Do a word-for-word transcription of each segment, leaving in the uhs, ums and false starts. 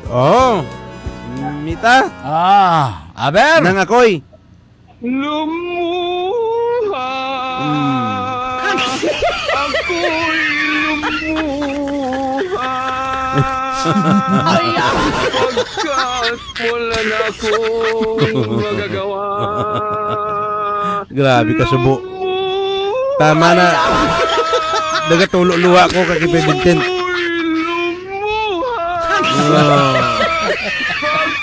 Oh. Mita. Ah, aber. Nang ako'y lumuha. Mm. Ako'y lumuha. Pagkat wala na akong magagawa. Grabe ka, subo. Tama na. Nagatulo luha ko kay Vincent. Ah.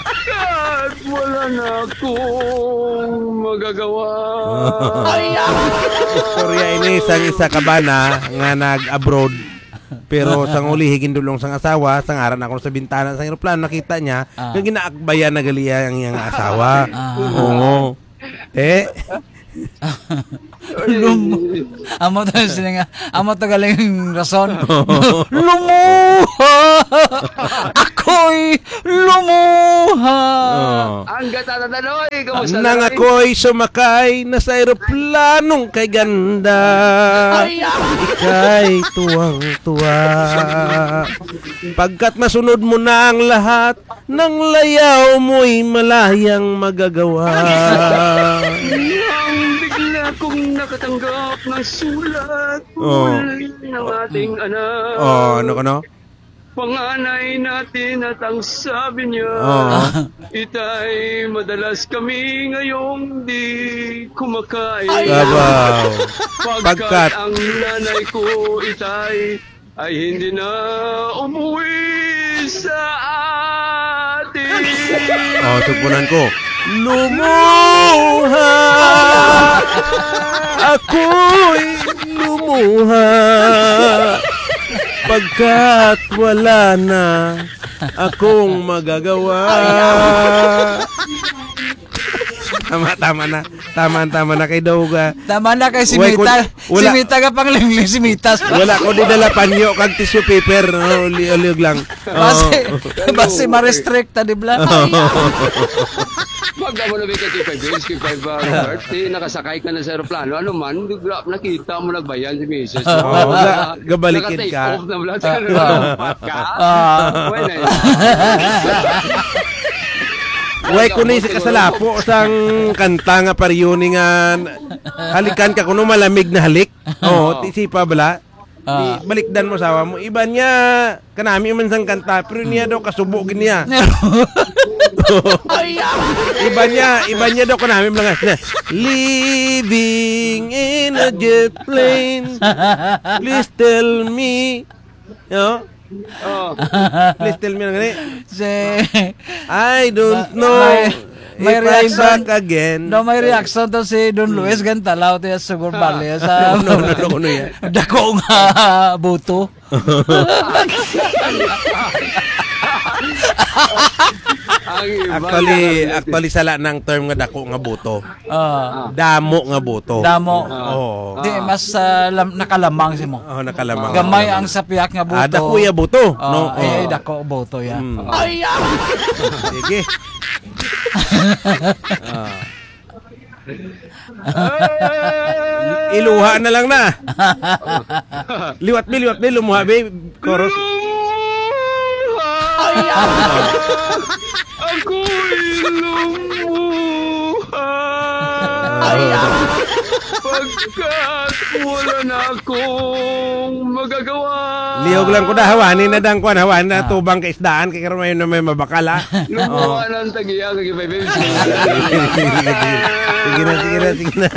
Pagkat wala na akong magagawa. Istorya ini sang isa ka bana nga nag-abroad. Pero sang uli, higindulong sang asawa, sang aran ako sa bintana sang eroplano, nakita niya, Ah. nga ginaakbayan na gali ang iyang asawa. Ah. Oo. Eh? Lum-, amo to yung sila nga, amo to galing rason. Lumuha! Ako'y lumuha! Oh. Ang gata na tanoy, kamusta na, Nang Noy? Ako'y sumakay na sa eroplanong kay ganda. Ay, ah. Ika'y tuwang-tuwa. Pagkat masunod mo na ang lahat, nang layaw mo'y malayang magagawa. Nang bigla kong nakatanggap ng sulat Oh. mula ng ating anak. Oh, ano ka, no? Panganay natin at ang sabi niya, Oh. "Itay, madalas kami ngayong di kumakain." Ay, Abaw. Pagkat Pagkat ang nanay ko, itay, ay hindi na umuwi sa atin. Oh, tugpunan ko. Lumuha. Ako'y lumuha. Pagkat wala na akong magagawa. Tama, tama na. Tama, tama na kay daw ka. Tama na kay si Way ko Mita. Wala. Si Mita ka pang lingling, si Mita. Wala ko di dala panyo kag tissue paper. No? Uli-, uliog lang. Basi, Oo. basi ma-restrict ta, di ba? Oo. Pag amo na may ka K five Bills, K five, ah, Robert, eh, nakasakay ka na sa aeroplano, ano man, gra-, nakita mo nagbayan si misis mo. Oo, ga-, gabalikin Naka-take ka. off na wala sa Ah, ah. aeroplano, pat ka. Ah. Wala na yun. Way ko ni si kasalapo sang kanta nga pariyoni nga halikan ka kuno malamig na halik. Oo, Oo. ti sipa bala. Ah. Di, balikdan mo asawa mo. Iban niya, kanami man sang kanta, pero niya daw kasubo gid niya. Ay, ah. Iban niya, iban niya daw kanami man nga, "Living in a jet plane, please tell me." No? Oh. Please tell me lang gani. Si I don't Ma-, know may, may if I'm reaction. back again. No, may reaction to si Don Luis Gantalaw, tiya, sugar Ah. bali, sa No, no, no, no, no, yan. Dako nga buto. Ang iba Actually, na lang. actually, sala nang term nga dako nga buto. Ah. Damo nga buto. Damo. Oo. Di, Ah. mas, ah, lam-, nakalamang si mo. Oh, nakalamang. Gamay Nakalamang. ang sapiak nga buto. Ah, dako iya buto, Oh, no? ay, ay, Oh. dako buto ya. Mm. Ay, ah! Sige. Ah. Iluha na lang na. Liwat, bi, liwat, bi, lumuha, bi. Chorus. Lumuha. Ako'y lumuha. Pagkat wala na akong magagawa. Liog lang ko na, hawani na dang kwan, hawani na Ah. tubang kay isdaan, kay karon may, may mabakal, ah. Lumuha Oh. ng tagiya, kay Bay Vincent. Sige na, sige na, sige na.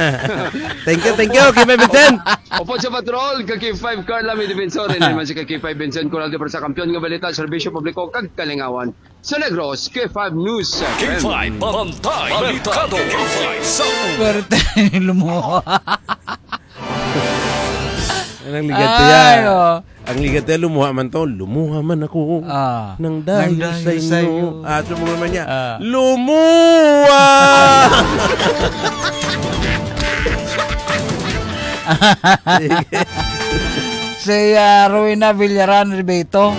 Thank you, thank you, kay Bay Vincent. Opo sa patrol, ka K five Carla, may defensor, hindi man si ka K five Vincent, kulang di para sa kampiyon nga balita, serbisyo publiko, kag kalingawan. Sa Negros, K five News K five, Bantay Merkado, K five sa Swerte lumuha. Anong ligat Ay, ya? oh. Ang ligat ya, lumuha man to. Lumuha man ako Ah. ng dahil Ng dahil sa inyo. sa'yo. Ah, so, mga naman niya, Ah. Lumuha! Si, ah, Rowena Villaran Ribeto,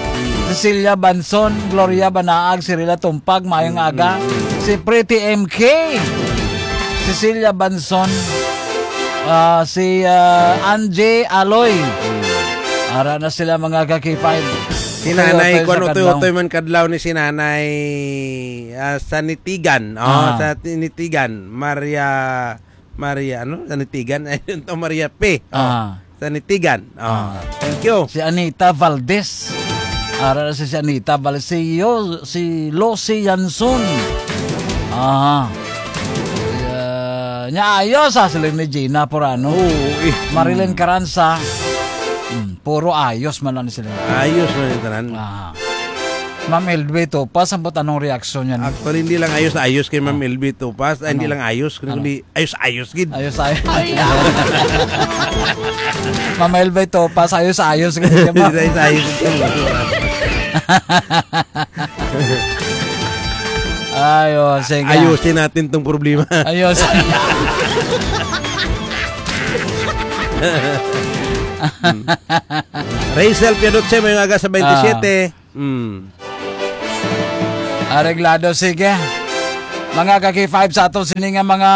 Cecilia Banson, Gloria Banaag, Cirila Tumpag, maayong aga. Si Pretty M K, Cecilia Banson, ah, si, ah, Angie Aloy. Ara na sila, mga ka K five. K Si Nanay, Toyotoy kuwan, sa Kadlaw. Utoy-utoy man kadlaw ni si Nanay, ah, Sanitigan. Oh, Ah. Sa Tinitigan. Maria, Maria, ano? Sanitigan? Ay, yun to, Maria P. Oh, Ah. Sanitigan. Oh, Ah. Thank you. Si Anita Valdez. Ara si, si Anita Valdez. Si Yo-, si Lucy Yanson. Ah. Ah, nya ayos, ah, sila ni Gina Porano. Oo, eh. Marilyn Mm. Caranza. Mm, puro ayos man lang sila. Ayos man yung tanan. Ah. Ma'am L B Topas, ang anong reaksyon niya? Actually, hindi lang ayos-ayos kay Ma'am Ah. L B Topas. Ay, hindi Ano? lang ayos, Ano? kundi ayos-ayos gid. Ayos, ayos. Ay, ah. Ma'am L B Topas, ayos, ayos gid, di ba? Ayos, ayos gid. Ay, oh, sige. Ayusin natin tong problema. Ayos. Hmm. Rachel Piadoche, may aga sa twenty-seven. Ah. Hmm. Areglado, sige. Mga ka-K five, sa ato sini nga mga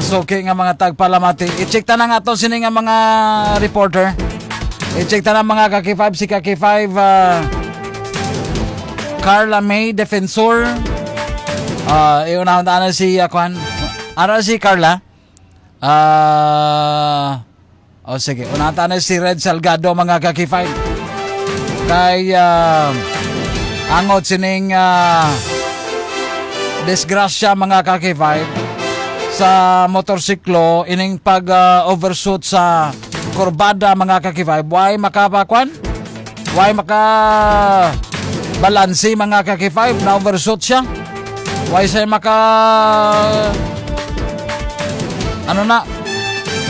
suki nga mga tagpalamati. I-check ta na nga ato sini nga mga reporter. I-check ta na, mga ka-K five, si ka-K five, ah, Carla May Defensor. Ah, iunahon ta na si, ah, kwan. Ara si Carla. Ah, o sige, unata na si Red Salgado, mga ka-K five. Kay, ah, angot sining, ah, disgrasya, mga ka-K five, sa motorsiklo, ining pag, ah, overshoot sa kurbada, mga ka-K five. Why makapakwan? Why maka balansi, mga ka-K five? Na-overshoot siya. Why siya maka, ano na,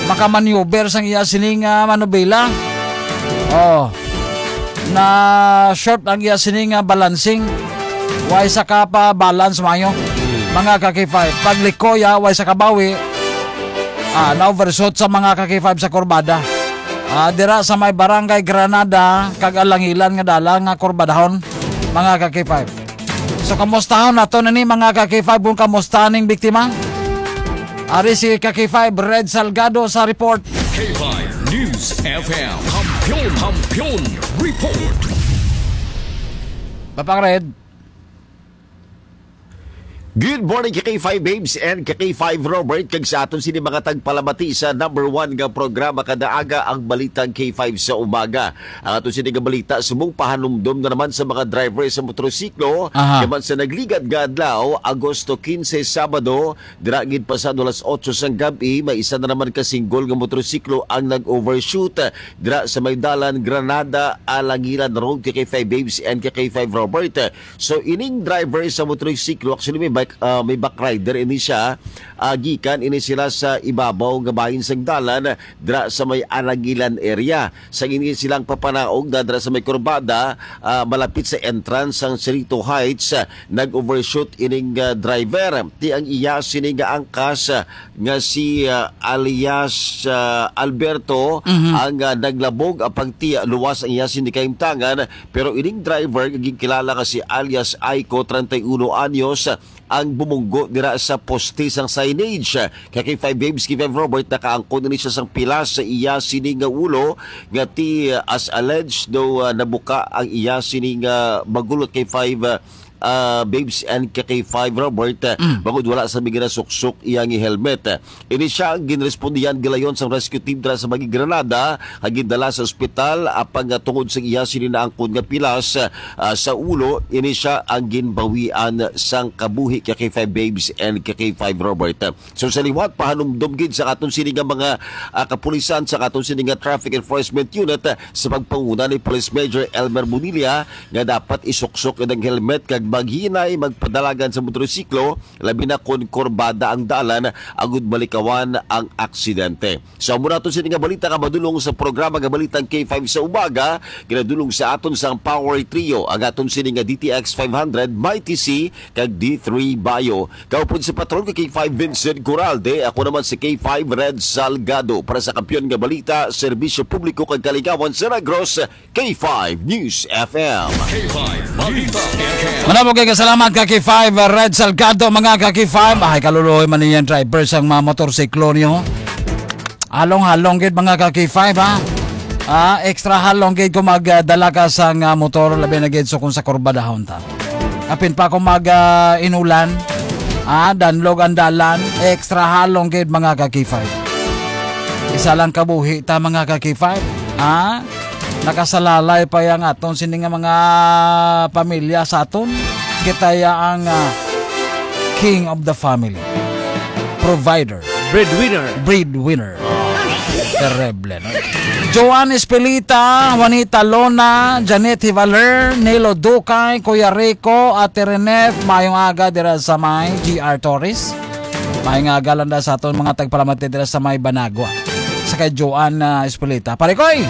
maka-maneuver sang iya sining, ah, manubela? Oh. Na short ang iya sining, ah, balancing. Why sa ka pa balance mayo? Mga ka-K five. Pag likoy, ah, why sa kabawi? Ah, na-overshoot sa mga ka-K five sa kurbada. Ah, dira sa may Barangay Granada, kag Alangilan nga dala nga kurbadahon, mga ka-K five. So, kamustahon nato na ni, mga ka-K five, kung kamusta ning biktima? Ari si ka-K five, Red Salgado sa report. K five News F M. Kampiyon, Kampiyon Report. Papang Red. Good morning, ka-K five Babes and ka-K five Robert, kag sa aton sini mga tagpalamati sa number one nga programa kada aga, ang Balitang K five sa Umaga. Ang aton sini nga balita, subong pahanumdom na naman sa mga driver sa motorsiklo, Aha. naman sa nagligad nga adlaw, Agosto quince, Sabado, dira gid pasado alas otso sang gab-i, may isa na naman ka single nga motorsiklo ang nag-overshoot dira sa may dalan Granada, Alangilan Road, ka-K five Babes and ka-K five Robert. So, ining driver sa motorsiklo, actually, may bike, ah, may back rider ini siya. Ah, gikan ini sila sa ibabaw nga bahin sang dalan, dira sa may Alangilan area. Sa ini silang papanaog na dira sa may kurbada, ah, malapit sa entrance sang Cerrito Heights, ah, nag-overshoot ining, ah, driver. Ti ang iya sini nga angkas, ah, nga si, ah, alias, ah, Alberto, Mhm. ang, ah, naglabog, apang ti luwas ang iya sini kahimtangan. Pero ining driver nga ginkilala nga si alias Aiko, treinta y uno anyos, ang bumunggo dira sa poste sang signage. Kay ka-K five Babes, ka-K five Robert, nakaangkon ini siya sang pilas sa iya sini nga ulo, nga ti, uh, as alleged, daw, uh, nabuka ang iya sini nga bagulot, ka-K five, uh, uh, Babes and ka-K five Robert, uh, Mm. bangod wala sa mga nasuksok iya nga helmet. Ini siya ang ginrespondihan gilayon sang rescue team dira sa Bagi Granada, nga gindala sa ospital, apang nga tungod sa iya sini naangkon nga pilas, ah, sa ulo, ini siya ang ginbawian sang kabuhi, ka-K five Babes and ka-K five Robert. So, sa liwat, pahanumdom gid sa aton sini nga mga, ah, kapulisan, sa aton sini nga Traffic Enforcement Unit, ah, sa pagpanguna ni Police Major Elmer Bonilla, nga dapat isuksok ang helmet kag maghinay magpadalagan sa motorsiklo, labi na kon kurbada ang dalan, agud malikawan ang aksidente. So, amo na to sini nga balita nga madulong sa programa nga Balitang K five sa Umaga, ginadulong sa aton sang Power Trio, ang aton sini nga D T X five hundred, Mighty C, kag D three Bio. Kaupod sa patron ka K five Vincent Coralde, ako naman si K five Red Salgado para sa Kampiyon nga Balita, Serbisyo Publiko kag Kaligawan sa Negros, K five News F M. K five Balita F M. Manabo kay kasalamat ka K five Red Salgado, mga ka K five. Ay, kaluluoy man niyan driver sang mga motorsiklo niyo. Halong-halong gid, mga ka K five, ha. Ah, extra halong gid kung magdala ka sang, ah, motor, labi na gid so kung sa kurbadahon ta. Apin pa kung mag, ah, inulan, ah, danlog ang dalan, extra halong gid, mga ka-K five. Isa lang kabuhi ta, mga ka-K five. Ah, nakasalalay pa yang aton sini nga mga pamilya sa aton. Kita ya ang, ah, king of the family. Provider. Breadwinner. Breadwinner. Terrible, no? Joan Espelita, Juanita Lona, Janet Hivaler, Nelo Ducay, Kuya Rico, Ate Renef, mayong aga dira sa may G R Torres. Mayong aga lang da sa aton mga tagpalamati dira sa may Banagua. Sa kay Joan, ah, Espelita. Pare Koy,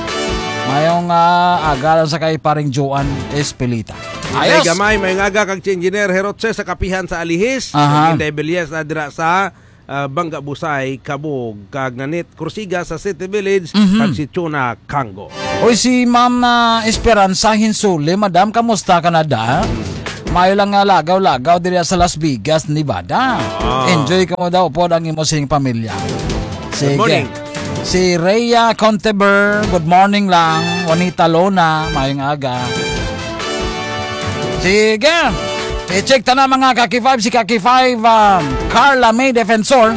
mayong, ah, aga lang sa kay paring Joan Espelita. Ay, Ayos! Gamay, mayong aga kag si Engineer Herotse sa Kapihan sa Alihis. Aha. Inday Belyes na dira sa, ah, Bangga Busay, Kabog, kag Nanit Kursiga sa City Village, Mhm. kag si Chuna Kango. Oy, si Ma'am, ah, Esperanza Hinsuli, Madam, kamusta ka na da? Mayo lang nga lagaw-lagaw diri sa Las Vegas, Nevada. Ah. Enjoy ka mo daw pod ang imo sing pamilya. Sige. Good morning. Si Rhea Conteber, good morning lang. Juanita Lona, mayong aga. Sige. I-check ta na, mga ka-K five, si ka-K five, um, Carla May Defensor.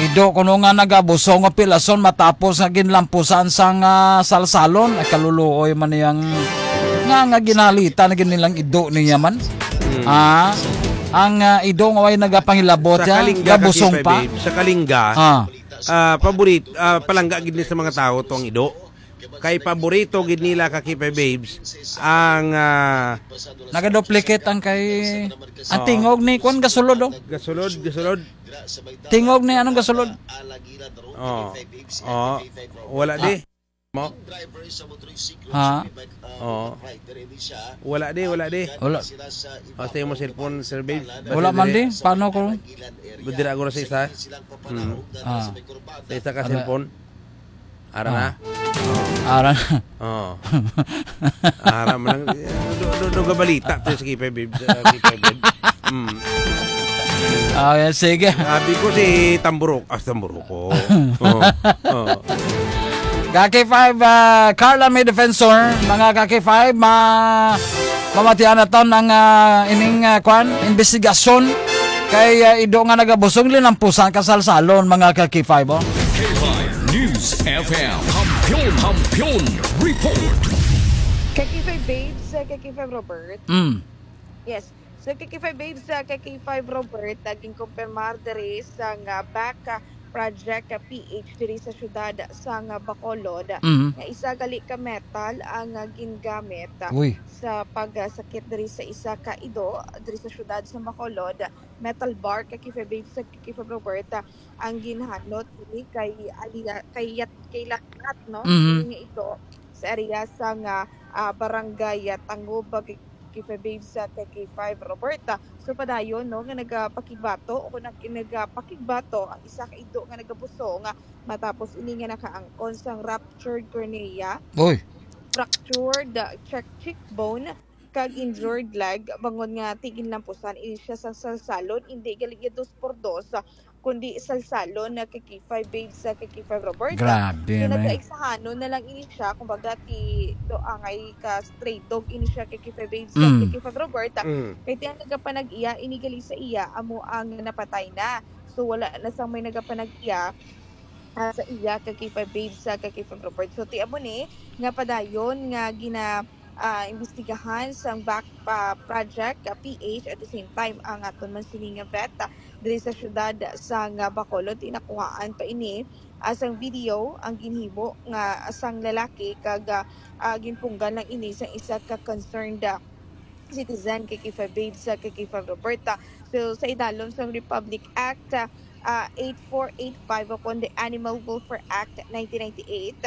Ido kuno nga nagabusong nga pilason matapos nga ginlampusan sang, ah, salsalon. Ay, kaluluoy man niyang nga, nga ginalitan na gid nilang ido niya man. Hmm. Ah, ang, ah, ido nga way nagapangilabot Sa yan, Kalinga, gabusong Kakipa pa. Babe, sa Kalinga, Ah. ah, paborit-, ah, palangga gid ni sa mga tao tong ido. Kay paborito gid nila, Kakipa Babes, ang, ah, Nagaduplicate ang kay, ang Oh. tingog ni, kuwan, gasulod, oh. Gasulod, gasulod. Tingog ni, anong gasulod? Oh. Oh. Wala Ah. di. Mo? Ha? Oh. Wala di, wala di. Wala. Basta yung mo cellphone, Sir Babes. Basta Wala man dire. di. Paano ko? Badira ako sa isa. Hmm. Ah. Sa isa ka Ano? cellphone. Ara na? Ah. Ara na. Oo. Ara man lang. Do, do, do, balita to sa K five Babes, sa K five Babes. Mm. Ah, yan, sige. Sabi ko si Tamburok. Ah, Tamburok ko. Oo. Oo. Ka-K five, ah, Carla May Defensor, mga ka-K five, ma-, mamatian na to ng, ah, ining, ah, kwan, investigasyon kay, ah, ido nga nagabusong linampusan kasalsalon, mga ka-K five, oh. K five News F M. Kampiyon, Kampiyon Report. Ka-K five Babes, uh, ka-K five Robert. Mm. Yes. So, ka-K five Babes, uh, ka-K five Robert, uh, ginkumpirmar diri sa nga back, uh, project, uh, P H diri sa siyudad sa nga Bacolod, Mm. nga isa gali ka metal ang, uh, gingamit, uh, Uy. sa pagsakit diri sa isa ka ido diri sa siyudad sa Bacolod. Metal bar, ka-K five Babes, uh, ka-K five Robert, uh, ang ginhanot ini kay aliya-, kay Yat-, kay Latlat, no? Mhm. Ini nga ido sa area sa nga, ah, barangay, ah, Tangob, ah, K five Babes, ah, ka-K five Robert. So, padayon, no, nga nagapakigbato o nag-, nagapakigbato ang isa ka ido nga nagabusong, ah, matapos ini nga nakaangkon sang ruptured cornea, Oy. fractured, ah, cheek, cheekbone, kag injured leg, bangod nga ti ginlampusan ini siya sa salsalon, indi gali dos por dos, kundi salsalon na ka-K five Babes, ka-K five Robert. Grabe, man. Kinagaigsahanon na lang ini siya, kumbaga, ti do angay ka stray dog ini siya ka-K five Babes, Mm. ka-K five Robert. Mm. Kay ti ang nagapanag-iya, ini gali sa iya, amo ang napatay na. So, wala na sang may nagapanag-iya, ah, sa iya ka-K five Babes, ka-K five Robert. So, ti amo ni nga padayon nga gina-, ah, imbestigahan sang back, ah, project, ah, P H. At the same time, ang aton man sini nga vet, ah, diri sa siyudad sang, ah, Bacolod, tinakuhaan pa ini, ah, sang video ang ginhimo nga sang lalaki kag, ah, ah, ginpunggan lang ini sang isa ka concerned, ah, citizen, ka-K five Babes, ka-K five Robert. So, sa idalom sang Republic Act, ah, ah, eight four eight five, o kon the Animal Welfare Act nineteen ninety-eight,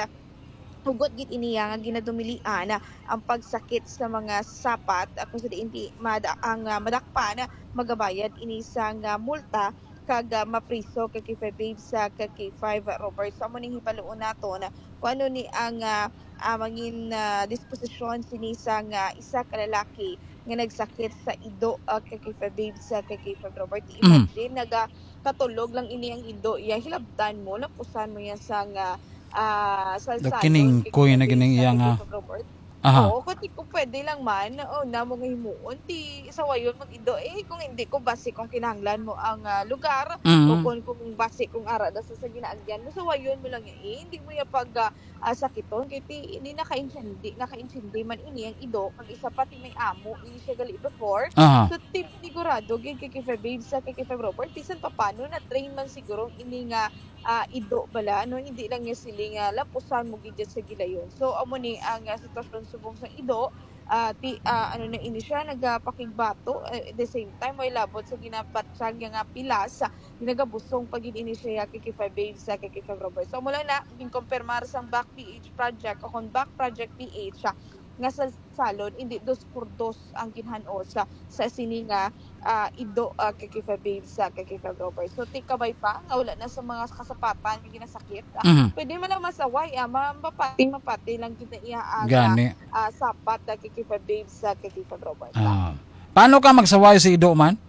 hugot gid ini nga ginadumilian ang pagsakit sa mga sapat, ah, kung sa diin di mada-, ang, ah, madakpan, magabayad ini sang, ah, multa kag, ah, mapriso, ka-K five Babes, ka-K five Robert. So, amo ning hibaluon naton kung ano ni ang, ah, ah, mangin, ah, disposisyon sini sang, ah, isa ka lalaki nga nagsakit sa ido, ah, ka-K five Babes, ka-K five Robert. Mm. Imagine, naga-, katulog lang ini ang ido iya, hilabtan mo, lapusan mo yan sang, ah, ah, sa Do salon, kining kay kuya na Kuya gining Vince, iya sa nga. Kuya Robert. Aha. Oo, kung di ko pwede lang man, o, na mo nga himuon, di sawayon mag-ido. Eh, kung hindi ko, basi kung kinahanglan mo ang, ah, lugar, Mm. o kung, kung basi kung ara na sa, sa ginaagyan mo, sawayon mo lang, eh, hindi mo ya pag, ah, ah, sakiton, kay ti, hindi nakaintindi, nakaintindi man ini ang ido, kag isa pa ti may amo, ini siya gali before. Aha. So, ti, sigurado, gid kay K five Babes, sa kay K five Robert, bisan pa paano, na-train man siguro ini nga, ah, ido bala, no? Hindi lang niya sili nga lapusan mo gid sa gilayon. So, amo ni ang, ah, sitwasyon subong sa ido, ah, ti, ah, ano na ini siya, nagapakigbato, eh, at the same time, may labot sa ginabatyag nga pilas, ah, ginagabusong pa gid ini siya kay K five Babes, ah, kay K five Robert. So, amo lang na, ginkumpirmar sang Back P H Project o kon Back Project P H, ah, nga sa salon, hindi dos por dos ang ginhan-os sa, sa sini nga, ah, ido, ah, kay K five Babes, ah, kay K five Robert. So, ti kabay pa nga wala na sa mga kasapatan nga ginasakit, ah, Mhm. pwede man lang masaway, ah, ma-, mapati, mapati lang gid na iya ang, ah, Gani. ah, sapat, ah, kay K five Babes, ah, kay K five Robert. Ah. Paano ka magsaway sa ido man?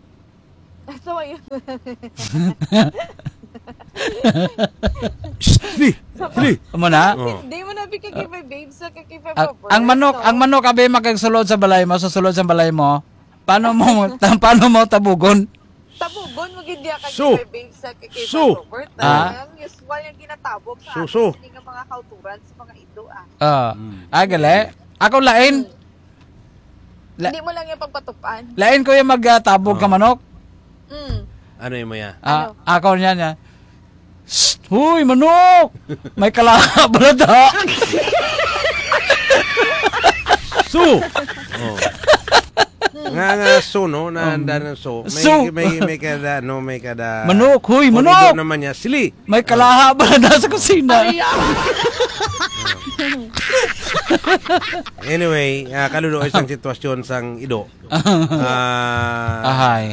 So, ayun. Shh, Lee! Lee! Amo na? Oh. Hindi mo na bigay kay K five Babes, sa kay K five Ang, Robert, ang manok, no? Ang manok, abi, magkagsulod sa balay mo, sa sulod sa balay mo. Paano mo, ta-, paano mo tabugon? Tabugon mo gid diya kay Su! K five Babes, sa kay K five Su! Robert. Ah? Ang usual yung ginatabog sa Su, atin, su. Hindi nga mga kauturan sa mga ido, ah. Ah. Mm. Ah, gali? Ako lain. Hmm. La- Hindi mo lang yung pagpatupan. Lain ko yung magtabog ka Oh. manok. Mm. Ano yung maya? Ah, Ano? Ako niya niya. "Shh! Huy, manok! May kalaha bala da!" Su! Oh. Nga, nga, su, no? Na, Um, anda ng su. May, su! May, may kada, no? May kada Manok! Huy, kung manok! Ido naman niya, sili. May kalaha ba na sa kusina? Ay, ah. Anyway, ah, kaluloy sang sitwasyon sang ido. Ah, Ahay.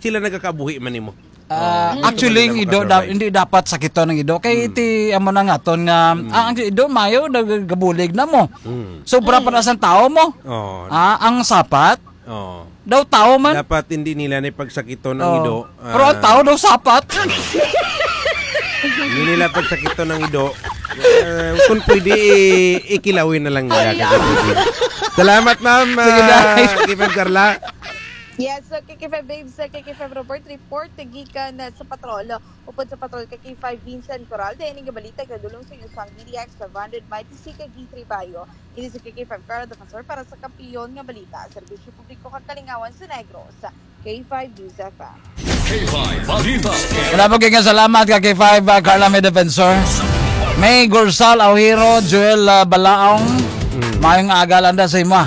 Sila nagakabuhi man nimo. Ah, Oh, actually, hindi ang ido, da-, makasurvive. Hindi dapat sakiton ang ido. Kay Mm. iti, amo na nga ton nga, Mm. ah, ang ido, mayo, nagabulig na mo. Mm. Sobra pa Mm. na sang tao mo. Oh. Ah, ang sapat, Oo. Daw tao man. Dapat hindi nila ni pagsakiton ang Oo. Ido. Pero ang Ah. tao daw sapat. Hindi nila pagsakiton ang ido. Eh, kung pwede, i-, ikilawin na lang nila. Ay, ah. Salamat, ma'am, Sige, ah, Day. K five Carla. Yes, so, K K five Babes, uh, K K five Robert, report gikan, uh, sa patrol. Upod sa patrol kay K five Vincent Coral, dayon ang balita kadulong sa inyo sang D D X five hundred Mighty C kag G three Bayo. Ini si K K five Carla Defensor para sa Kampiyon nga Balita, Serbisyo Publiko kag Kalingawan sa Negros, K five News F M. K five Balita. Wala po kayo salamat ka K five, uh, Carla, may defensor. May Gursal Aujero, Joel, uh, Balaong. Mm. Mayong aga lang da sa imo.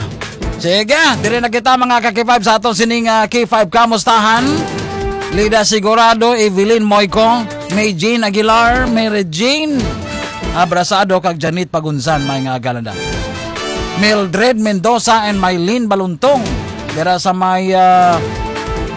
Sige, diri na kita, mga ka K five, sa aton sining, ah, K five Kamustahan. Lida Sigurado, Evelyn Moico, May Jean Aguilar, Mary Jean Abrasado, kag Janet Pagunsan, may nga agalanda. Mildred Mendoza and Mylene Baluntong, dira sa may, ah,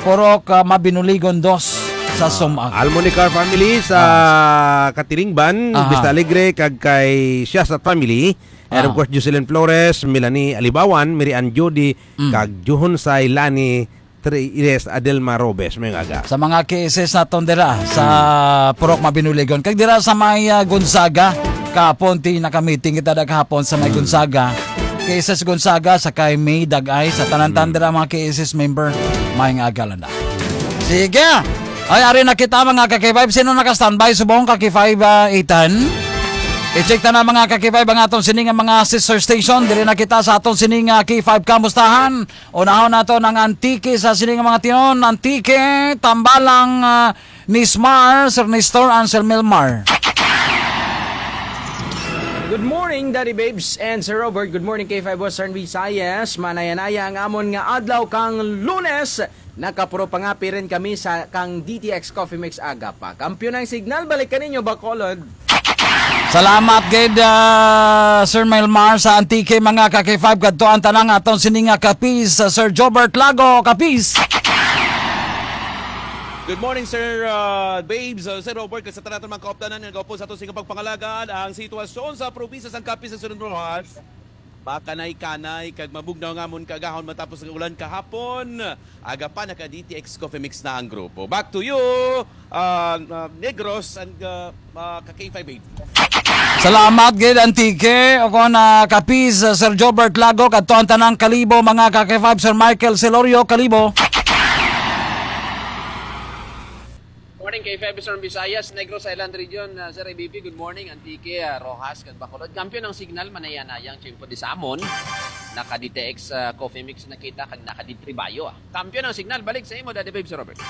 Purok, ah, Mabinuligon dos sa Sumag. Almonicar family sa Ah. Katilingban, Aha. Vista Alegre, kag kay Siasat family. And of Ah. course, Jocelyn Flores, Melanie Alibawan, Mary Ann Judy, Mm. kag Juhon Say Lani, Tres Adelma Robes, may aga. Sa mga K S S naton dira sa Mm. Purok Mabinuligon. Kag dira sa may, ah, Gonzaga, kahapon ti nakamiting kita da kahapon sa may Mm. Gonzaga. K S S Gonzaga, sa kay May Dagay, sa tanan-tanan Mm. dira mga K S S member, may nga agalan na. Sige! Ay, ari na kita, mga ka K five. Sino naka-standby subong ka K five, ah, Ethan? I-check ta na, mga ka K five, ang aton sini nga mga sister station. Diri na kita sa aton sini nga K five Kamustahan. Unahon nato ng Antique sa sini nga mga tion. Antique, Tambalang, ah, Nismar, Sir Nestor, and Sir Melmar. Good morning, Daddy Babes and Sir Robert. Good morning, K five Western Visayas. Manaya-naya ang amon nga adlaw kang Lunes. Nakapuro pangapi rin kami sa kang D T X Coffee Mix aga pa. Kampiyon ang signal, balik kaninyo, Bacolod. Salamat gid, ah, Sir Melmar sa Antique, mga ka K five, kadto ang tanang aton sini nga kapis, ah, Sir Jobert Lago, kapis. Good morning, Sir, ah, Babes, ah, Sir Robert, kag sa tanan mga kaupdanan nga nagaupod sa aton sini nga pagpangalagaan ang sitwasyon sa probinsya sang Capiz sa Surigao. Makanay-kanay kag mabugnaw nga amon kaagahon matapos ang ulan kahapon. Aga pa, naka D T X Coffee Mix na ang grupo. Back to you, uh, uh, Negros and, uh, uh, ka K five eight. Salamat gid, Antique. O kon, ah, Capiz, ah, Sir Jobert Lago, kadto ang tanang Kalibo, mga ka-K five, Sir Michael Celorio, Kalibo. Morning, K five Eastern Visayas, Negros Island Region, ah, Sir A B P, good morning, Antique, ah, Roxas, kag Bacolod. Kampiyon ang signal, manaya-naya ang tiyempo di sa amon. Naka-D T X, ah, Coffee Mix na kita, kag naka-D three Bayo, ah. Kampiyon ang signal, balik sa imo, Daddy Babe, Sir Robert.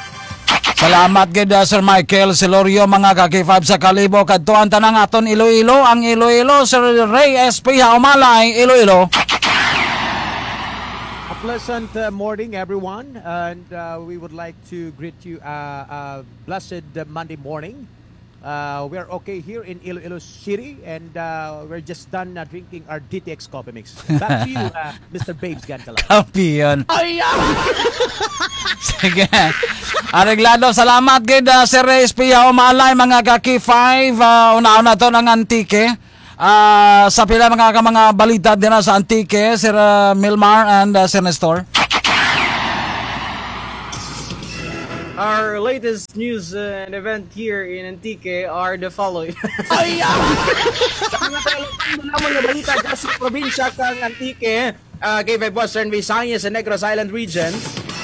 Salamat gid, ah, Sir Michael Celorio, mga ka-K five sa Kalibo, kadto ang tanang aton Iloilo, ang Iloilo, Sir Ray S P Haumalay, Iloilo. A pleasant uh, morning, everyone, and uh, we would like to greet you uh, a blessed uh, Monday morning. Uh, we are okay here in Iloilo City, and uh, we're just done uh, drinking our D T X coffee mix. Back to you, uh, Mister Babes Gantala. Kampiyon. Ay, ah! Sige. Areglado, salamat gid, ah, Sir Ray S P Haumalay, mga ka-K five, ah, una-una to ng Antique. Ah, sa pila mga ka mga balita din sa Antique, Sir, ah, Milmar and, ah, Sir Nestor. Our latest news uh, and event here in Antique are the following. Ay, ah! Sa mga talagang naman nga balita dyan sa probinsya kang Antique, uh, K five Western Visayas sa Negros Island Region,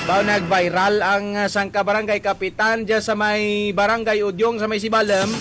baw nag-viral ang uh, sangka barangay kapitan dyan sa may barangay Udyong sa may Sibalom,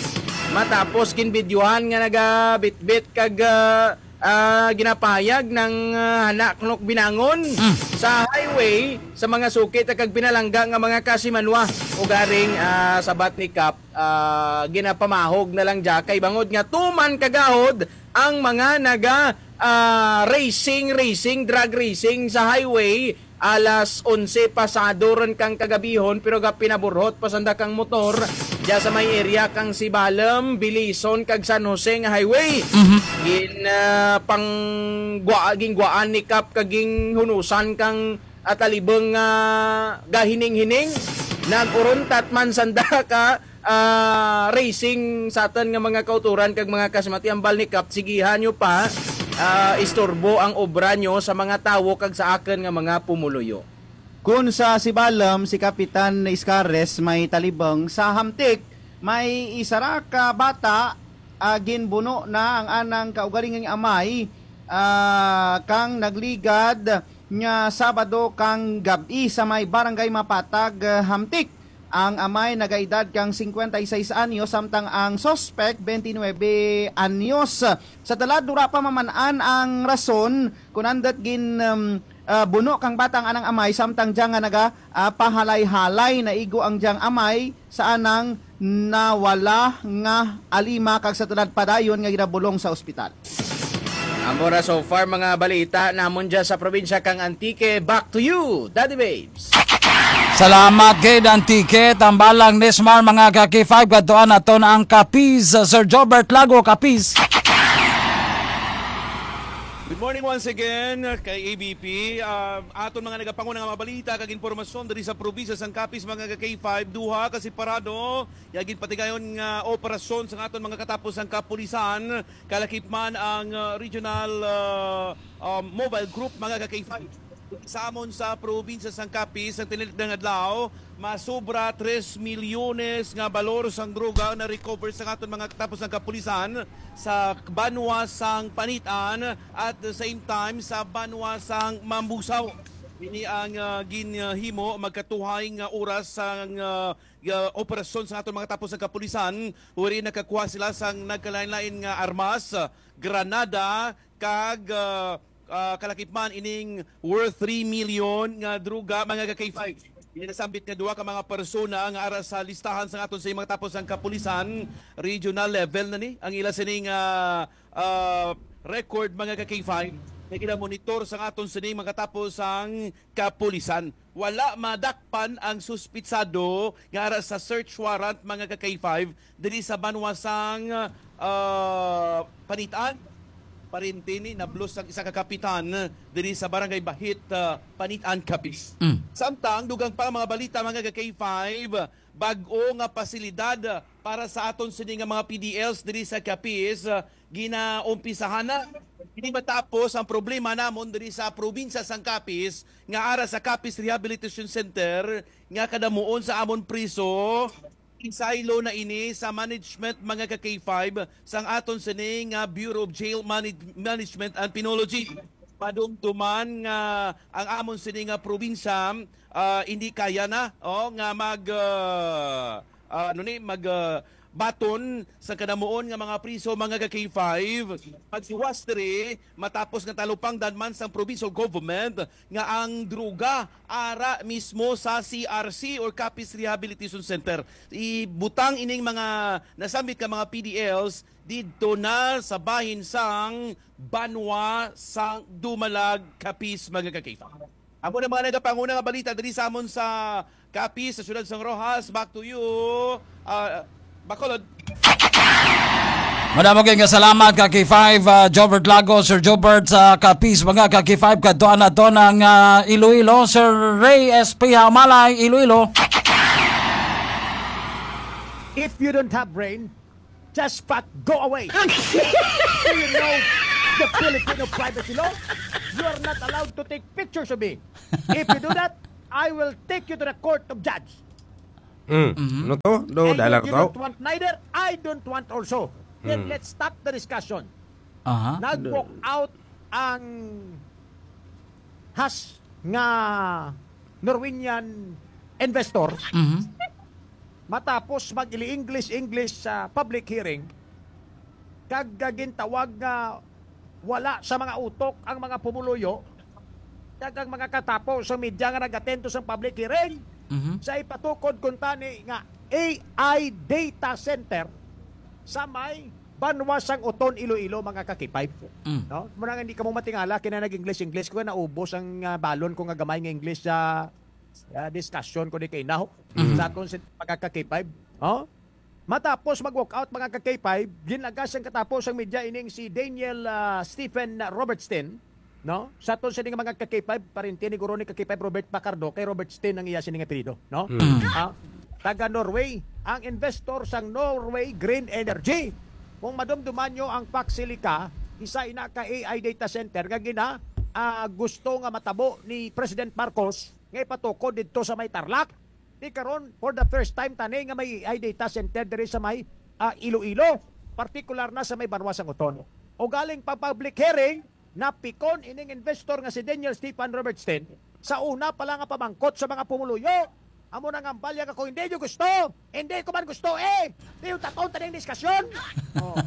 matapos ginbidyuhan nga nagabitbit kag uh, ah, ginapahayag ng ah, Hanaknok Binangon sa highway sa mga suki ta kag pinalangga nga mga kasimanwa. Ugaring ah, sabat ni Kap, ah, ginapamahog na lang dya kay bangod nga tuman kagahod ang mga naga ah, racing, racing, drag racing sa highway alas onse pasado ron kang kagabihon, pero gapinaburhot pa sanda kang motor dya sa may area kang Sibalom, Bilison kag San Jose nga highway. Gin ah, pang gwa, gingwaan ni Kap kag ginghunusan kang atalibong nga gahining-hining. Nag-uruntat man sanda ka ah, racing sa aton nga mga kauturan kag mga kasimati. Ambal ni Kap, sigihan nyo pa ah, istorbo ang obra nyo sa mga tawo kag sa akon nga mga pumuluyo. Kun sa Sibalom, si Kapitan Iscares may talibong sa Hamtik, may isa ra ka bata ah, ginbuno na ang anang kaugalingong amay ah, kang nagligad nga Sabado kang gab-i sa may Barangay Mapatag, ah, Hamtik. Ang amay nagaedad kang singkwenta y seis anyos, samtang ang suspek, twenty-nine anyos. Sa tulad, wala pa maman-an ang rason kung andot gin, um, ah, buno kang bata ang anang amay, samtang dya nga naga, ah, pahalay-halay, naigo ang dyang amay sa anang nawala nga alima, kag sa tulad padayon nga ginabulong sa ospital. Amo ra so far mga balita namon dyan sa probinsya kang Antique. Back to you, Daddy Babes. Salamat gid, Antique. Tambalang Nismar, mga ka-K five, kadtuan naton ang Capiz, Sir Jobert Lago, Capiz. Good morning once again kay A B P. Ah, aton mga nagapanguna nga mga balita kag impormasyon diri sa probinsya sang Capiz, mga ka-K five, duha ka separado nga ginpatigayon nga operasyon sa aton mga katapos ang kapulisan. Kalakip man ang ah, regional ah, um, mobile group, mga ka-K five. Sa amon sa probinsya sang Capiz, ang tinilikdan nga adlaw, masobra tres milyones nga balor sang droga na recover sa aton mga katapos ang kapulisan sa banwa sang Panitan at the same time sa banwa sang Mambusaw. Ini ang ah, ginhimo magkatuhay nga oras sang ah, ah, operasyon sa aton mga katapos ang kapulisan, wherein nakakuha sila sang nagkalain-lain nga armas, granada, kag ah, ah, kalakip man ining worth three million nga droga, mga ka-K five. Ginasambit nga duha ka mga persona nga ara sa listahan sa aton sa mga tapos ang kapulisan, regional level na ni ang ila sining ah, ah, record, mga ka-K five, nga ginamonitor sa aton sining mga tapos ang kapulisan. Wala madakpan ang suspitsado nga ara sa search warrant, mga ka-K five, diri sa banwa sang ah, Panitan. Parente ni nablos ang isa ka kapitan diri sa barangay Bahit, ah, Panitan, Capiz. Mm. Samtang dugang pa ang mga balita, mga ka-K five, bag-o nga pasilidad para sa aton sini nga mga P D Ls diri sa Capiz, ah, ginaumpisahan na. Hindi matapos ang problema namon diri sa probinsya sang Capiz nga ara sa Capiz Rehabilitation Center nga kadamuon sa amon priso. Isaylo na ini sa management, mga ka K five, sang aton sini nga Bureau of Jail Manage-, Management and Penology. Madumduman nga ang amon sini nga probinsya, ah, hindi kaya na, oh, nga mag, ah, ah, ano ni, mag, ah, baton sa kanamuon nga mga priso, mga ka K five. Magsiwas diri matapos nga talupangdan man sang provincial government nga ang droga ara mismo sa C R C or Capiz Rehabilitation Center. Ibutang ining mga nasambit nga mga P D Ls didto na sa bahin sang banwa sang Dumalag, Capiz, mga ka-K five. Amo na mga nagapanguna nga balita diri sa amon sa Capiz, sa siyudad sang Roxas. Back to you, uh, Bacolod. Madamo kay nga salamat ka K five, ah, Jobert Lago, Sir Jobert sa Capiz, mga ka K five, kadto na to ng, ah, Iloilo, Sir Ray S P Hamalay, Iloilo. If you don't have brain, just pack, go away. Do you know the Filipino privacy law? You are not allowed to take pictures of me. If you do that, I will take you to the court of judge. Mm. Mhm. Ano to? Do, And dahil if you to? don't want neither, I don't want also. Then Mm. let's stop the discussion. Aha. Nag-walk out ang has nga Norwegian investor Mhm. matapos mag-ili-English-English sa public hearing, kag gintawag nga wala sa mga utok ang mga pumuluyo, kag ang mga katapo sa media nga nag-attend to sa public hearing. Mhm. Sa ipatukod kuntani nga A I data center sa may banwa sang Oton, Iloilo, mga ka-K five. Mm. No? Muna nga hindi ka mo matingala, kina nag-English-English ko, naubos ang, ah, balon ko nga gamay nga English sa, ah, discussion ko ni kay now. Mm. Sa aton si mga ka-K five. Oh? Matapos mag-walk out, mga ka-K five, ginagas ang katapo sang media ining si Daniel, ah, Stephen Robertstein, no? Sa aton sini nga mga ka-K five, pariente ni guro ni ka-K five Robert Pacardo, kay Robertstein ang iya sini nga apelyido, no? Mm. Ah, taga Norway, ang investor sang Norway Green Energy. Kung madumduman nyo ang Paxilica, isa ina ka A I data center nga gina, ah, gusto nga matabo ni President Marcos nga ipatukod didto sa may Tarlac. Di karon, for the first time tani nga may A I data center diri sa may, ah, Iloilo, partikular na sa may Banwa sang Oton. O galing pa public hearing, napikon ining investor nga si Daniel Stephen Robertstein sa una pa lang nga pamangkot sa mga pumuluyo. Amo na nga ang balyag ako, "Hindi nyo gusto? Hindi ko man gusto eh! Di yung taton taning diskasyon!" Oh.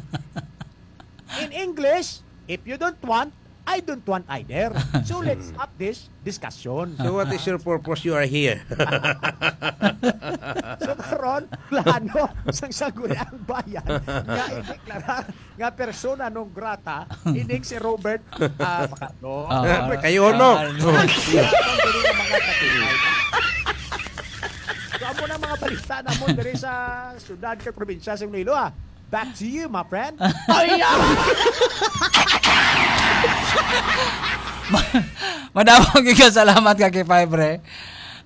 In English, if you don't want, I don't want either. So let's stop this discussion. So what is your purpose you are here? So karon, plano sang Sangguniang Bayan nga ideklara nga persona non grata ining si Robert, ah, Pacardo. Ah, Robert, kayo, no? Ah, no. Ang dili nga mga katulad. So, amo na mga balita namon diri sa syudad kag probinsya sa Iloilo, ah. Back to you, my friend. Ay, ah! Ma-, madamo gyud ka salamat ka K five, pre.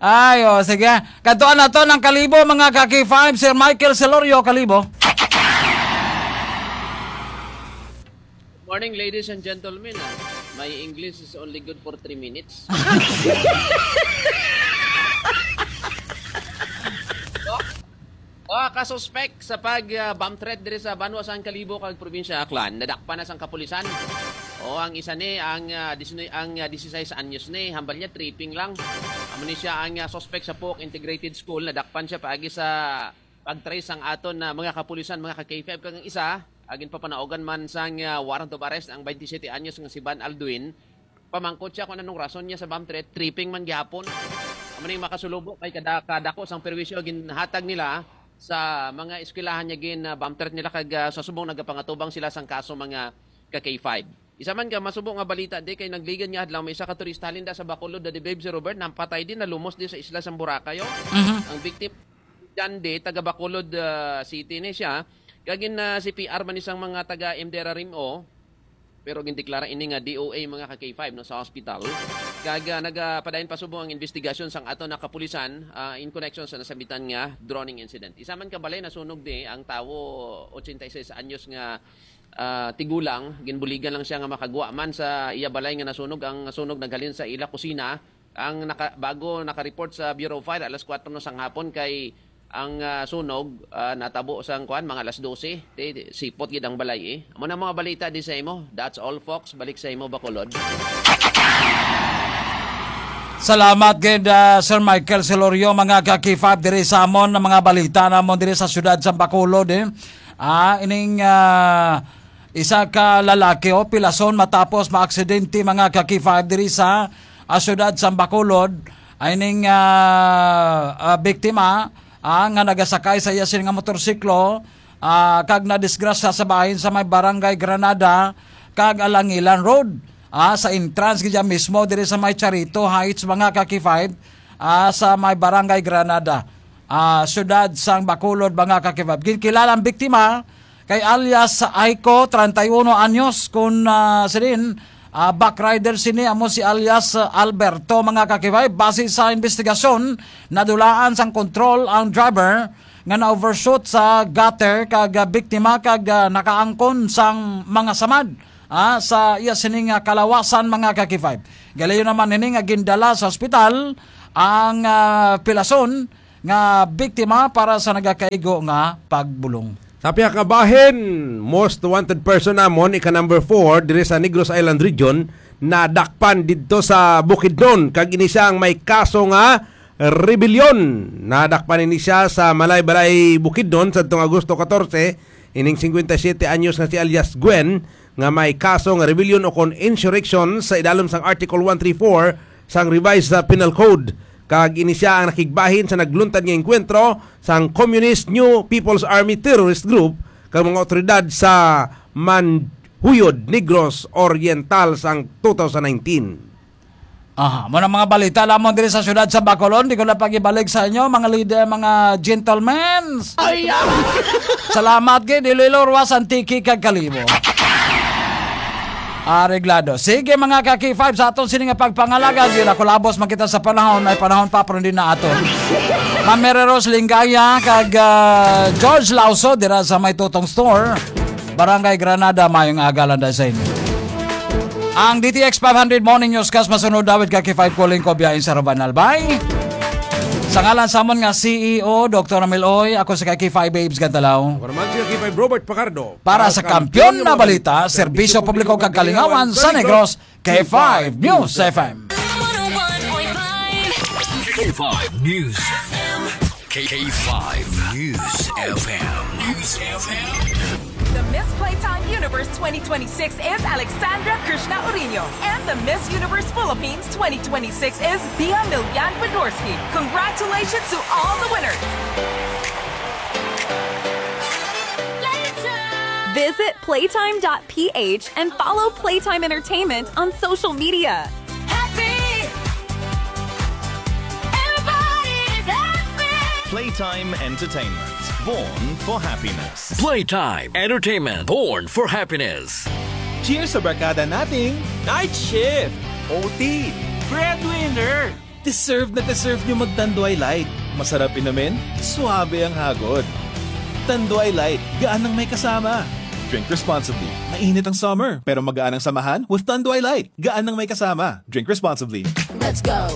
Ay, oh, sige. Kadtuan na to ng Kalibo, mga ka K five, Sir Michael Celorio, Kalibo. Morning, ladies and gentlemen. Ah, my English is only good for three minutes. Oh, oh, kasuspek sa pag, ah, bomb threat diri sa banwa sang Kalibo kag probinsya Aklan, nadakpan na sang kapulisan. Oh, ang isa ni ang, ah, diecinuebe, ang, ah, dieciséis anyos ni, hambal niya tripping lang. Amo ni siya ang, ah, suspect sa Puok Integrated School, nadakpan siya paagi sa pag-trace sang aton na mga kapulisan, mga ka K five, kag ang isa, agin papanaugan man sang, ah, warrant of arrest ang twenty-seven anyos nga si Van Alduin. Pamangkot siya kung anong rason niya sa bomb threat, tripping man gihapon. Amo ning makasulubo kay kada, kadako sang perwisyo ginhatag nila sa mga eskwelahan niya gin, ah, bomb threat nila kag, ah, sa subong nagapangatubang sila sang kaso mga ka K five. Isa man ka masubo nga balita di kay nagligad nga adlaw may isa ka turista halin da sa Bacolod, da di Babe si Robert, nampatay din, nalumos di sa isla sang Boracay, oh. Mhm. Ang victim, John Day, taga Bacolod, ah, City ni siya. Kag gin, ah, C P R man isang mga taga Imdera Rim-o, pero gindeklara ini nga D O A mga ka K five, no, sa hospital. Kag, ah, nagapadayon pa subong ang investigasyon sang ato na kapulisan, ah, in connection sa nasambitan nga droning incident. Isa man ka balay nasunog di ang tawo, ochenta y seis anyos nga, ah, tigulang, ginbuligan lang siya nga makagwa man sa iya balay nga nasunog. Ang sunog naghalin sa ila kusina. Ang naka-, bago naka-report sa Bureau of Fire, alas kuwatro na sang hapon kay, Ang, ah, sunog, ah, natabo sang kuan, mga alas dose. Ti, ti, sipot gid ang balay, eh. Amo na mga balita di sa imo. That's all, folks. Balik sa imo, Bacolod. Salamat gid, ah, Sir Michael Celorio, mga ka-K five, diri sa amon, ang mga balita namon diri sa siyudad sa Bacolod, eh. Ah, ining, ah, isa ka lalaki, oh, pilason matapos maaksidente, mga ka-K five, diri sa, ah, siyudad sa Bacolod. Ay ning, ah, ah, biktima, ah, nga nagasakay sa iya sini nga motorsiklo, ah, kag nadisgrasya sa bahin sa may Barangay Granada kag Alangilan Road, ah, sa entrance gid mismo diri sa may Charito Heights, mga ka-K five, ah, sa may Barangay Granada, ah, siyudad sang Bacolod, mga ka-K five. Ginkilala ang biktima kay alias Aiko, treinta y uno anyos, kun, ah, sidin, ah, backrider sini amo si alias, ah, Alberto, mga ka-K five. Base sa investigasyon, nadulaan sang kontrol ang driver nga na-overshoot sa gutter kag, ah, biktima kag, ah, nakaangkon sang mga samad, ah, sa iya sini nga kalawasan, mga ka-K five. Galayon naman ini nga gindala sa ospital ang, ah, pilason nga biktima para sa nagakaigo nga pagbulong. Sa pihak nga bahin, most wanted person namon, ika number four, diri sa Negros Island Region, nadakpan didto sa Bukidnon, kag ini siya ang may kaso nga rebellion. Nadakpan ini siya sa Malaybalay, Bukidnon, sadtong Agosto catorce, ining singkwenta y siyete anyos nga si alias Gwen, nga may kaso nga rebellion o kon insurrection sa idalom sang Article one three four sang Revised, uh, Penal Code. Kag ini siya ang nakigbahin sa nagluntad nga engkwentro sang Communist New People's Army terrorist group kag mga awtoridad sa Manhuyod, Negros Oriental sang two thousand nineteen. Aha, mo na mga balita lamang diri sa siyudad sa Bacolod. Di ko na pag-ibalik sa inyo, mga leader, mga gentlemen. Ay, ah! Salamat gid, Iloilo, Roxas, Antique, kag Kalibo. Areglado. Sige, mga ka-K five, sa aton sini nga pagpangalagad, yun, ako labos makita sa panahon, may panahon pa, pero hindi na aton. Ma'am Mary Rose Lingaya, kag, ah, George Lauso, dira sa may Tutong Store, Barangay Granada, mayong aga lang sa inyo. Ang D T X five hundred Morning Newscast masunod, David, ka-K five, Kuling ko, biyahin sa Roban Albay. Sa ngalan sa amon nga C E O, Doktor Ramil Oy, ako sa ka-K five, Babes Gantalaw. Ako naman si ka-K five, Robert Pacardo. Para sa Kampiyon na Balita, Serbisyo Publiko kag Kalingawan sa Negros, K five News F M. K five News F M. K five News F M. News F M. The Miss Playtime Universe twenty twenty-six is Alexandra Krishna Orino, and the Miss Universe Philippines twenty twenty-six is Bia Milian Podorski. Congratulations to all the winners! Visit playtime dot P H and follow Playtime Entertainment on social media. Happy! Everybody is happy! Playtime Entertainment, born for happiness. Playtime Entertainment, born for happiness. Cheers sa barkada nating Night Shift, O T, Breadwinner. Deserve na deserve nyo mag Tanduay Light. Masarap inumin, suabe ang hagod. Tanduay Light, gaan ang may kasama. Drink responsibly. Mainit ang summer, pero magaan ang samahan with Tanduay Light. Gaan ang may kasama. Drink responsibly. Let's go.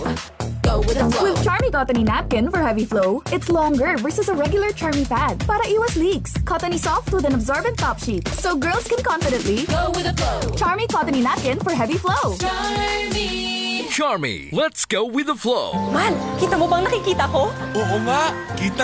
Go with the flow. With Charmy Cottony Napkin for heavy flow, it's longer versus a regular Charmy pad para iwas leaks. Cottony soft with an absorbent top sheet, so girls can confidently go with the flow. Charmy Cottony Napkin for heavy flow. Charmy. Charmy, let's go with the flow. Mal, kita mo bang nakikita ko? Oo nga, kita